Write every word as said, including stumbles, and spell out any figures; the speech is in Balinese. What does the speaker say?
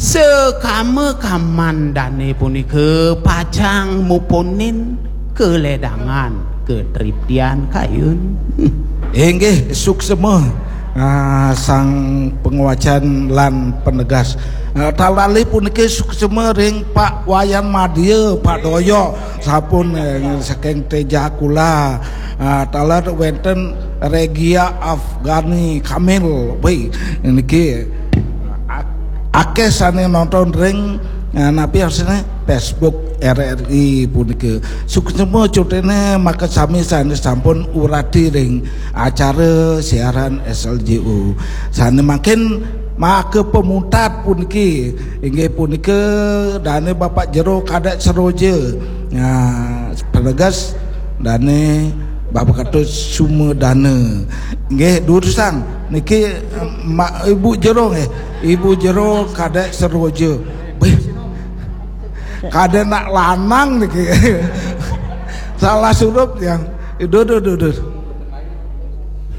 Sekama kaman dane punika pacang mupunin kaledangan katriptian kayun. Inggih, suksema, ah, sang panguwacan lan panegas. Ah, taler punika suksema ring Pak Wayan Madya, Pak Doyok, sampun, eh, saking Tejakula. Ah, taler wenten Regia Afghani Kamil. Wih, niki ak-, akeh sane nonton ring, eh, napi arsine Facebook R R I punika. Suksema cutine makasami sane sampun urati ring acara siaran S L J U. Sane mangkin maka pamuntat puniki inggih punika dane Bapak Jero Kadek Seroja. Nah, penegas dane Bapak Ketut Sumadana. Nggih, durusang niki, eh, Ma-, Ibu Jero nggih. Ibu Jero Kadek Seroja. Wih. Kadek nak lanang niki. Salah surup yang. Duh, duh, duh, duh.